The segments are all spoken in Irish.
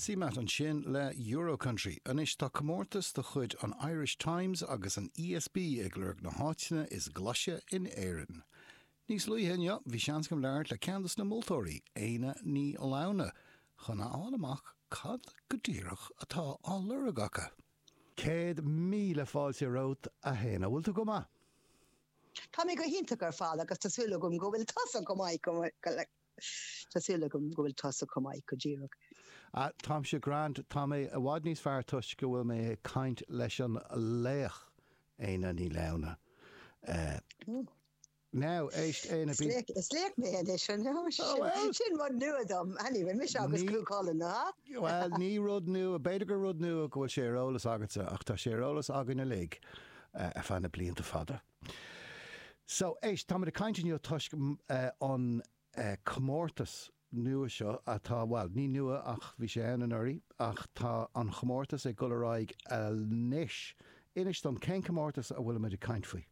CMAT ansin le Euro Country. Anois tá comórtas de chuid an Irish Times agus an ESB ag lorg na háiteanna is glaise in Éirinn. Níos luaithe inniu bhí seans agam labhairt le ceann de na moltóirí, Éanna Ní Lamhna, chun a fháil amach cad go díreach atá á lorg acu. 100,000 fáilte romhat, a Éanna. Bhfuil tú go maith? Tá mé go hiontach ar fad agus tá súil agam go bhfuil tusa go maith Tá súil agam go bhfuil tusa go maith go díreach. Ah, táimse grand. Tá mé i bhfad níos fearr toisc go bhfuil mé ag caint leis an laoch, Éanna Ní Lamhna. Now, éist, Éanna, bí. Is laoch mé anois, an ea? Sin rud nua dom. Anyway, mise agus Cú Chulainn, ha? Bhuel, ní rud nua, b'fhéidir gur rud nua go bhfuil sé ar eolas agatsa, ach tá sé ar eolas againn uilig ar feadh na blianta fada. So, éist, táimid ag caint inniu toisc an comórtas nua seo atá, bhuel, ní nua ach bhí sé ann anuraidh, ach tá an chomórtas ag dul ar aghaidh anois. Inis dom, cén comórtas a bhfuilimid ag caint faoi?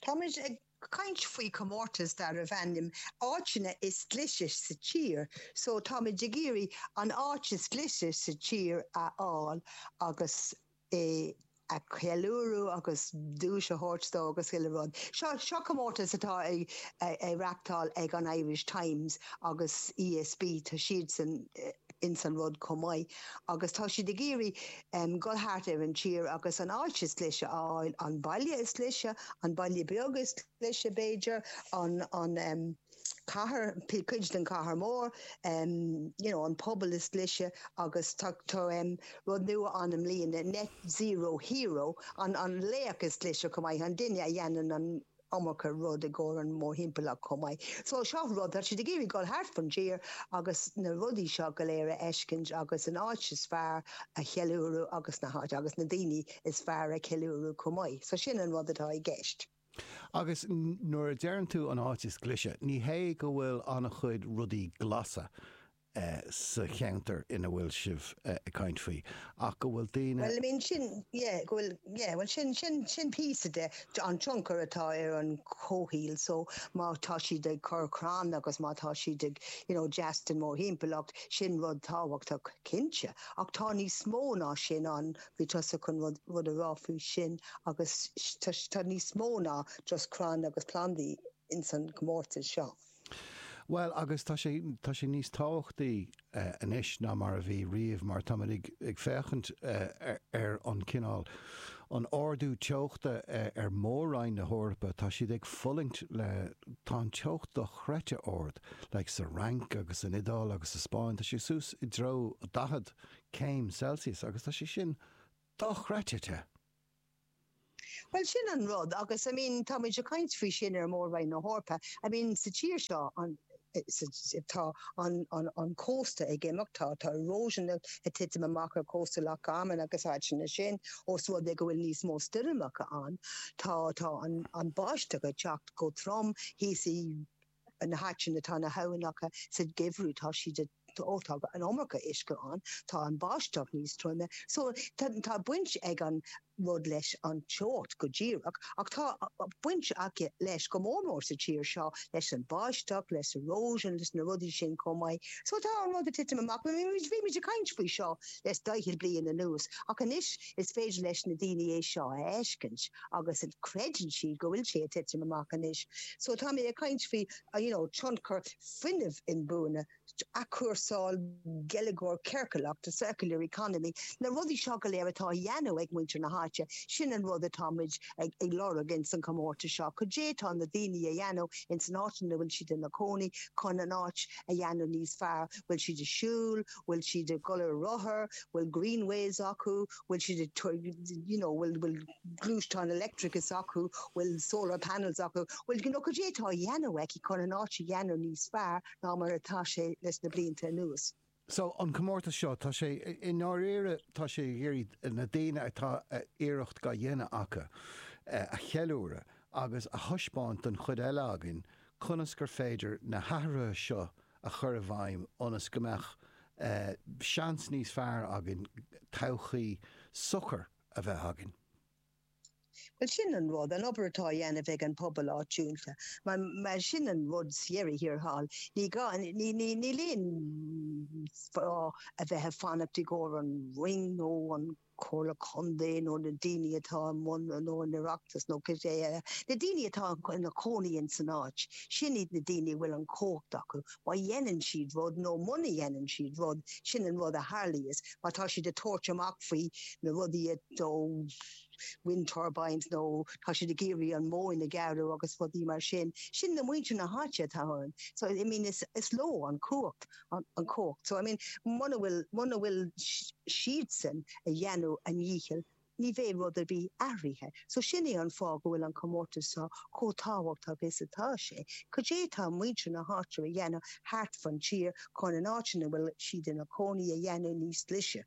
Táimid ag caint faoi chomórtas darbh ainm 'Áiteanna is Glaise sa Tír' so táimid ag iarraidh an áit is glaise sa tír a fháil agus é a cheiliúradh agus duais a thabhairt dó agus chuile rud. Seo, seo comórtas atá á reachtáil ag an Irish Times agus ESB, tá siadsan ins an rud chomh maith agus tá siad ag iarraidh dul thart ar an tír agus an áit is glaise a fháil, an baile is glaise, an baile beag is glaise b'fhéidir, an, an. cathair, cuid den chathair mór, you know, an pobal is glaise agus tá tá rud nua ann i mbliana, Net Zero Hero, an an laoch is glaise chomh maith, an duine a dhéanann an iomarca rud i gcomhair an mórthimpeallacht chomh maith. So seo rud, tá siad ag iarraidh dul thart fan tír agus na rudaí seo go léir a fheiscint agus an áit is fearr a cheiliúradh agus na háit agus na daoine is fearr a cheiliúradh chomh maith. So sin an rud atá i gceist. Agus nuair a deireann tú an áit is glaise, ní hé go bhfuil an-chuid rudaí glasa sa cheantar ina bhfuil sibh ag caint faoi, ach go bhfuil daoine. Bhuel, I mean, sin, yeah, go bhfuil, yeah, bhuel, sin, sin, sin píosa de, an tionchar atá ar an chomhshaol, so má tá siad ag cur crann agus má tá siad ag, you know, deas den mórthimpeallacht, sin rud tábhachtach, cinnte. Ach tá níos mó ná sin ann, Bhí tusa chun rud rud a rá faoi sin agus tá níos mó ná just crann agus plandaí ins an gcomórtas seo. Bhuel, agus tá sé, tá sé níos tábhachtaí anois ná mar a bhí riamh mar táimid ag, ag féachaint ar an cineál, an ardú teochta ar mhór-roinn na hEorpa, tá siad ag fulaingt le, tá an teocht dochreidte ard, like sa Fhrainc agus san Iodáil agus sa Spáinn, tá sé suas i dtreo 40 céim Celsius agus tá sé sin dochreidte te. Bhuel, sin an rud agus I mean tá muid ag caint faoi sin ar Mhór-Roinn na hEorpa. I mean sa tír seo an tá an an an cósta ag imeacht, tá tá erosion ag titim amach ar chósta Loch Garman agus áiteanna sin ós rud é go bhfuil níos mó stoirmeacha ann. Tá tá an an báisteach ag teacht go trom thíos i na háiteanna atá na habhannacha sa gheimhreadh tá siad ag ó tá an iomarca uisce ann, tá an báisteach níos troime. So tá tá baint ag an rud leis an teocht go díreach ach tá baint aige leis go mór mór sa tír seo leis an báisteach, leis erosion, leis na rudaí sin chomh maith. So tá an rud ag titim amach. Bhí muid ag caint faoi seo le daichead bliain anuas ach anois is féidir leis na daoine é seo a fheiscint agus creideann siad go bhfuil sé ag titim amach anois. So tá mé ag caint faoi you know tionchar fuinneamh inbhuanaithe, athchúrsáil, geilleagar ciorclach, the circular economy, na rudaí seo go léir atá á dhéanamh ag muintir na háite, sin an rud atá muid ag lorg ins an chomórtas seo. Cad é tá na daoine a dhéanamh ins an áit ina bhfuil siad ina cónaí chun an áit a dhéanamh níos fearr? Bhfuil siad ag siúl? Bhfuil siad ag dul ar rothar? Bhfuil greenways acu? Bhfuil siad ag, you know, bhfuil, bhfuil gluaisteán leictreachais acu? Bhfuil solar panels acu? Bhfuil, you know, cad é atá á dhéanamh aici chun an áit a dhéanamh níos fearr ná mar atá sé leis na blianta anuas? So, an comórtas seo, tá sé, i ndáiríre, tá sé ag iarraidh na daoine atá iarracht dhá dhéanamh acu a cheiliúradh agus a thaispeáint don chuid eile againn conas gur féidir na hathruithe seo a chur i bhfeidhm ionas go mbeadh seans níos fearr againn todhchaí socair a bheith againn. Bhuel, sin an rud, an obair atá á dhéanamh ag an pobal áitiúil. Mar, mar sin an rud sa dheireadh thiar thall. Ní gá, ní, ní, níl aon. fáth a bheith ag fanacht i gcomhair an Roinn nó an Comhairle Contae nó na daoine atá i mbun nó an Oireachtas nó cibé eile, na daoine atá ina cónaí ins an áit, sin iad na daoine a bhfuil an chumhacht acu. Má dhéanann siad rud nó muna dhéanann siad rud, sin an rud a tharlaíos. Má tá siad ag tabhairt amach faoi na rudaí nó wind turbines nó tá siad ag iarraidh an mhóin a ghearradh agus rudaí mar sin, sin na muintir na háite atá ann. So, I mean, is leo an chumhacht. an chumhacht. So, I mean, muna bhfuil, muna bhfuil siadsan a dhéanamh a ndícheall, ní bheidh rud ar bith athraithe. So sin é an fáth go bhfuil an comórtas seo chomh tábhachtach is atá sé. Cad é tá muintir na háite a dhéanamh thart fan tír chun an áit ina bhfuil siad ina cónaí a dhéanamh níos glaise?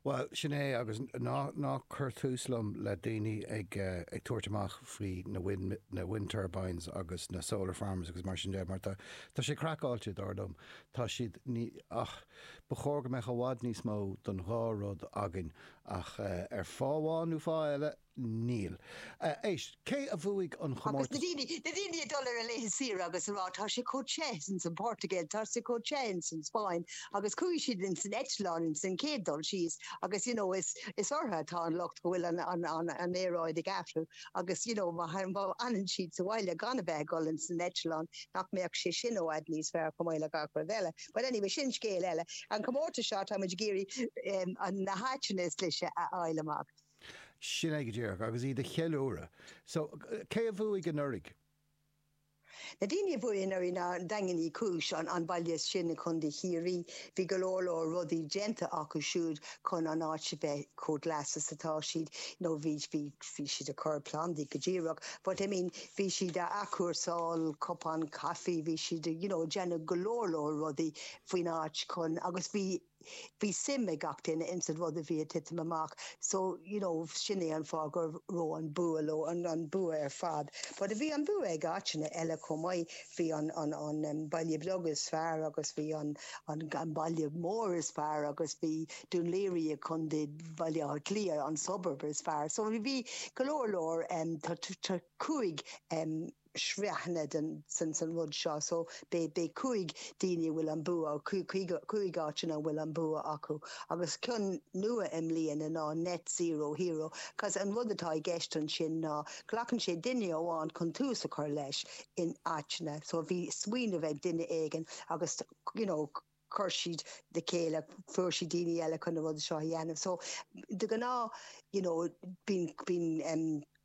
Bhuel, sin é, agus ná, ná cuir tús liom le daoine ag, ag tabhairt amach faoi na wind, na wind turbines agus na solar farms agus mar sin de, mar tá, tá sé craiceáilte, dar liom. Tá siad, ní, ach, ba chóir go mbeadh i bhfad níos mó don dhá rud againn, ach ar fáth amháin nó fáth eile, Níl. Éist, cé a bhuaigh an Agus na daoine, na daoine ag dul ar a laetha saoire agus a rá tá sé chomh te ins an Portaingéil, tá sé chomh te ins an Spáinn agus chuaigh siad ins an eitleán ins an chéad dul síos agus you know is, is orthu atá an locht go bhfuil an, an, an, an aeráid ag athrú agus you know má, má fhanann siad sa bhaile gan a bheith ag dul ins an eitleán nach mbeadh sé sin i bhfad níos fearr chomh maith le gach rud eile. But anyway, sin scéal eile. An comórtas seo tá muid ag iarraidh um, na háiteanna is glaise a fháil amach. Sin é go díreach, agus iad a cheiliúradh. So, cé a bhuaigh anuraidh? Na daoine a bhuaigh anuraidh ná Daingean Uí Chúis, an baile sin i gContae Chiarraí. Bhí go leor leor rudaí déanta acu siúd chun an áit a bheith chomh glas is atá siad. You know, bhí, bhí, bhí siad ag cur plandaí go díreach, but I mean, bhí siad a athchúrsáil cupán caife, bhí siad, you know, ag déanamh go leor leor rudaí faoin áit chun, agus bhí, bhí suim ag gach duine ins an rud a bhí ag titim amach so you know sin é an fáth go raibh an bua leo, an an bua ar fad. But bhí an bua ag áiteanna eile chomh maith, bhí an an an baile beag is fearr agus bhí an an an baile mór is fearr agus bhí Dún Laoghaire i Contae Bhaile Átha Cliath an suburb is fearr. So bhí go leor leor tá tá 5 sraitheanna den san san rud seo so beidh beidh 5 daoine a bhfuil an bua 5 áiteanna a bhfuil an bua acu agus ceann nua i mbliana ná Net Zero Hero cos an rud atá i gceist ansin ná glacann sé duine amháin chun tús a chur leis in áiteanna so bhí smaoineamh ag duine éigin agus you know chuir siad le chéile, fuair siad daoine eile chun na rudaí seo a dhéanamh. So de ghnáth, you know, bíonn, bíonn em,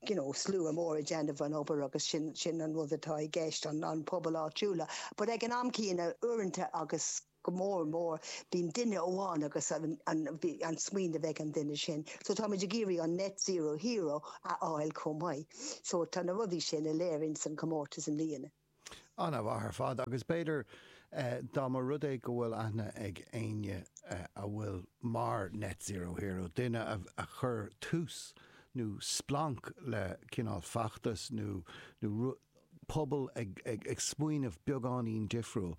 you know, slua mór ag déanamh an obair agus sin, sin an rud atá i gceist, an, an pobal áitiúla. But ag an am céanna, uaireanta agus go mór mór, bíonn duine amháin agus an, an, an smaoineamh ag an duine sin. So táimid ag iarraidh an Net Zero Hero a fháil chomh maith. So tá na rudaí sin uilig ins an comórtas i mbliana. An-mhaith ar fad, agus b'fhéidir dá mba rud é go bhfuil aithne ag éinne a bhfuil mar Net Zero Hero, duine a chuir tús nó splanc le cineál feachtas nó nó pobal ag ag smaoineamh beagáinín difriúil.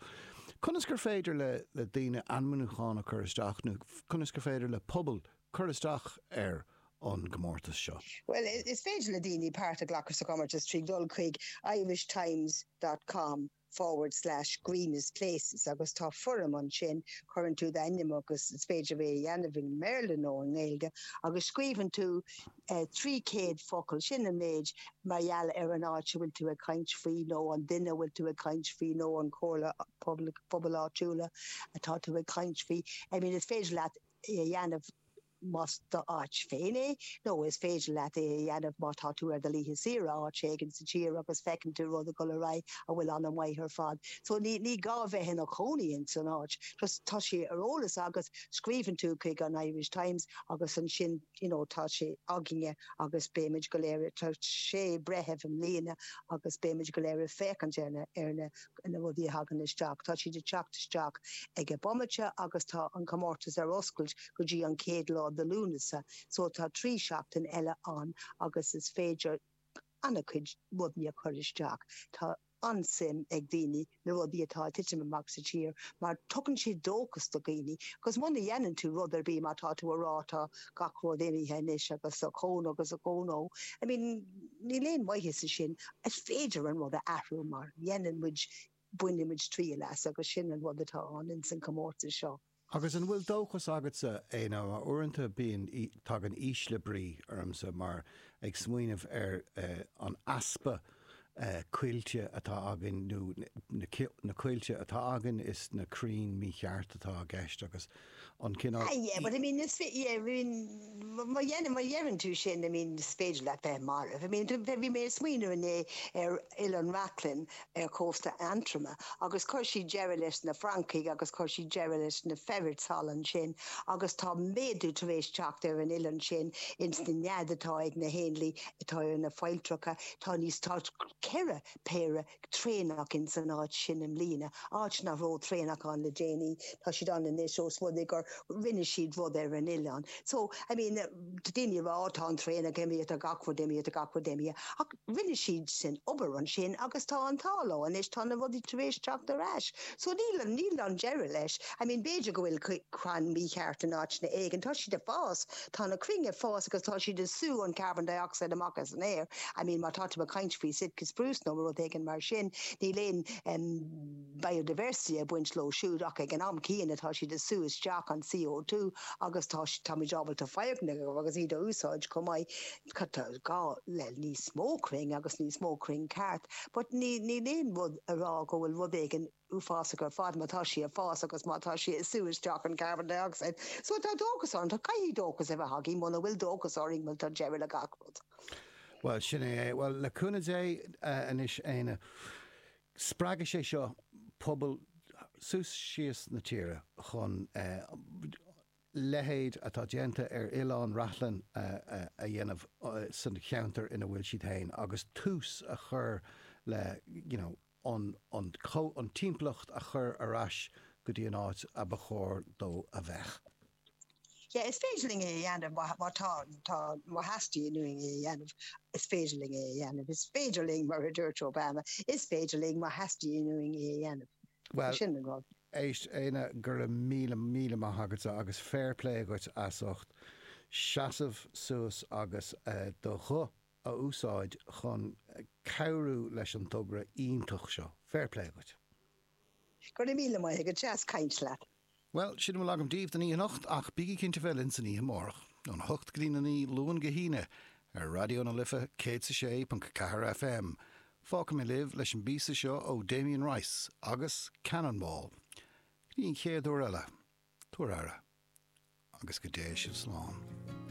Conas gur féidir le le daoine ainmniúchán a chur isteach nó conas gur féidir le pobal cur isteach ar an gcomórtas seo? Bhuel, is féidir le daoine páirt a ghlacadh sa chomórtas trí dhul chuig irishtimes dot com forward slash greenest places agus tá foirm ansin, cuireann tú d'ainm agus is féidir é a dhéanamh i mBéarla nó i nGaeilge agus scríobhann tú 300 focal, sin an méid, mar gheall ar an áit a bhfuil tú ag caint faoi nó an duine a bhfuil tú ag caint faoi nó an chomhairle pobail áitiúla atá tú ag caint faoi. I mean, is féidir leat é a dhéanamh más d'áit féin é, nó is féidir leat é a dhéanamh má tá tú ar do laetha saoire áit éigin sa tír agus feiceann tú rud ag dul ar aghaidh a bhfuil an-mhaith ar fad. So ní ní gá bheith ina chónaí ins an áit, just tá sé ar eolas agat, scríobhann tú chuig an Irish Times agus ansin you know tá sé againne agus beimid go léir, tá sé breitheamh i mbliana agus beimid go léir ag féachaint ar na ar na na rudaí a thagann isteach. Tá siad ag teacht isteach ag an bomaite agus tá an comórtas ar oscailt go dtí an chéad lá de Lúnasa so tá 3 seachtain eile ann agus is féidir an-chuid rudaí a chur isteach. Tá an-suim ag daoine na rudaí atá ag titim amach sa tír mar tugann sé dóchas do dhaoine agus muna dhéanann tú rud ar bith má tá tú a rá tá gach rud imithe anois agus a chón agus a chónó I mean níl aon mhaitheas i sin. Is féidir an rud a athrú mar dhéanann muid, baineann muid triail as agus sin an rud atá ann ins an comórtas seo. Agus an bhfuil dóchas agatsa, Éanna, mar uaireanta bíonn, tagann ísle brí ormsa mar ag smaoineamh ar an easpa coillte atá againn nó na coillte atá againn is na crainn mícheart atá i gceist agus an cineál. Ah yeah, but I mean is yeah, I mean má dhéanann, má dheireann tú sin, I mean is féidir leat bheith marbh. I mean bhí mé ag smaoineamh inné ar Oileán Reachlainn ar chósta Aontroma agus chuir siad deireadh leis na francaigh agus chuir siad deireadh leis na ferrets thall ansin agus tá méadú tar éis teacht ar an oileán sin ins na nead atá ag na héanlaith atá ar na failltreacha. Tá níos tá ceithre péire traonach ins an áit sin i mbliana, áit nach raibh traonach ann le déanaí. Tá siad ann anois ós rud é gur rinne siad rud ar an oileán. So, I mean, tá daoine ag rá, oh tá an traonach imithe, tá gach rud imithe, tá gach rud imithe. Ach rinne siad sin obair ansin agus tá an t-ádh leo anois, tá na rudaí tar éis teacht ar ais. So níl, níl an deireadh leis. I mean b'fhéidir go bhfuil crann mícheart in áiteanna éigin, tá siad ag fás, tá na crainn ag fás agus tá siad ag sú an carbon dioxide amach as an aer. I mean má tá tú ag caint faoi Sitka spruce nó rud éigin mar sin, níl aon em biodiversity ag baint leo siúd ach ag an am céanna tá siad ag sú isteach an CO2 agus tá, táimid ábalta foirgnimh agus iad a úsáid chomh maith. Tá gá le níos mó crainn agus níos mó crainn ceart but ní níl aon rud a rá go bhfuil rud éigin uafásach ar fad má tá sí ag fás agus má tá sí ag sú isteach an carbon dioxide. So tá dóchas ann, tá caithfidh dóchas a bheith againn, muna bhfuil dóchas orainn bhuel tá deireadh le gach rud. Bhuel, sin é é. Bhuel, le cúnamh Dé anois, Éanna, spreagfaidh sé seo pobal suas síos na tíre chun leithéid atá déanta ar Oileán Reachlainn a dhéanamh san cheantar ina bhfuil siad féin agus tús a chur le you know an an an timpeallacht a chur ar ais go dtí an áit a ba chóir dó a bheith. Yeah, is féidir linn é a dhéanamh má má tá tá má theastaíonn uainn é a dhéanamh, is féidir linn é a dhéanamh. Is féidir linn, mar a dúirt Obama, is féidir linn má theastaíonn uainn é a dhéanamh. Bhuel, Sin an rud. éist, Éanna, go raibh míle, míle maith agatsa agus fair play dhuit as ucht seasamh suas agus do ghuth a úsáid chun cabhrú leis an dtogra iontach seo. Fair play dhuit. Go raibh míle maith agat, deas caint leat. Bhuel, sin a bhfuil agam daoibh don oíche anocht, ach bígí cinnte bheith linn san oíche amárach, óna hocht go dtí a naoi, Luan go hAoine, ar Raidió na Life 106.4 FM. Fágfaidh mé libh leis an bpíosa seo ó Damien Rice agus Cannonball. Go dtí an chéad uair eile, tabhair aire, agus go dté sibh slán.